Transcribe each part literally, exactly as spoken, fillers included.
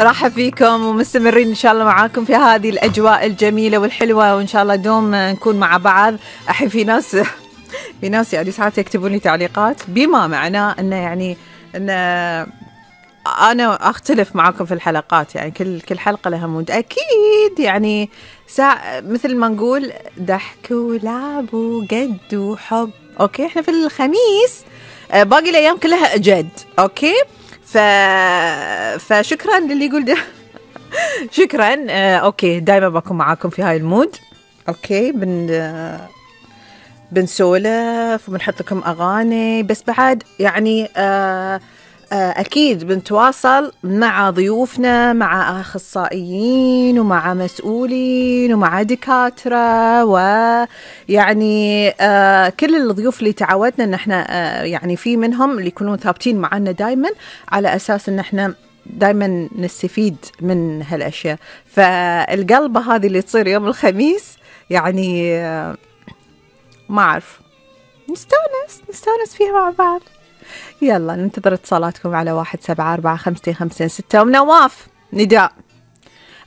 راح فيكم ومستمرين إن شاء الله معاكم في هذه الأجواء الجميلة والحلوة، وإن شاء الله دوم نكون مع بعض. أحي في ناس في ناس يعني ساعات يكتبون لي تعليقات بما معناه أنه يعني أن أنا أختلف معاكم في الحلقات، يعني كل كل حلقة لها مود أكيد، يعني ساعة مثل ما نقول ضحك ولعب وجد وحب. أوكي، إحنا في الخميس باقي الأيام كلها جد. أوكي، ف... فشكرا للي يقول ده شكرا. آه، أوكي، دايما بكون معاكم في هاي المود. أوكي، بن آه، بنسولف وبنحط لكم أغاني، بس بعد يعني آه أكيد بنتواصل مع ضيوفنا، مع أخصائيين ومع مسؤولين ومع دكاترة، ويعني آه كل الضيوف اللي تعودنا أن احنا آه يعني في منهم اللي يكونون ثابتين معنا دايما، على أساس أن احنا دايما نستفيد من هالأشياء. فالقلبة هذه اللي تصير يوم الخميس يعني آه ما أعرف، نستانس نستانس فيها مع بعض. يلا ننتظر اتصالاتكم على واحد سبعة أربعة خمسة خمسة ستة. أم نواف نداء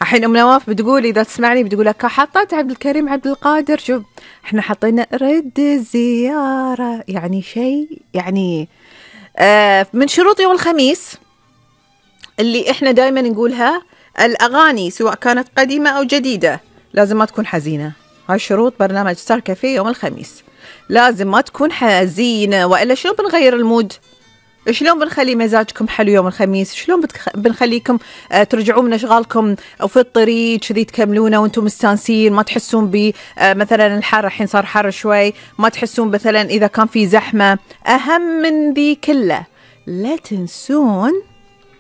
الحين. أم نواف بتقول إذا تسمعني بتقول لك حطيت عبد الكريم عبد القادر. شوف إحنا حطينا رد الزيارة، يعني شيء يعني آه من شروط يوم الخميس اللي إحنا دائما نقولها، الأغاني سواء كانت قديمة أو جديدة لازم ما تكون حزينة. هاي شروط برنامج ستار كافيه يوم الخميس، لازم ما تكون حزينة، وإلا شلون بنغير المود؟ شلون بنخلي مزاجكم حلو يوم الخميس؟ شلون بتخ... بنخليكم آه ترجعون من أشغالكم أو في الطريق كذي تكملونه وانتم مستانسين، ما تحسون ب آه مثلا الحر، الحين صار حر شوي، ما تحسون مثلا إذا كان في زحمة. أهم من ذي كله لا تنسون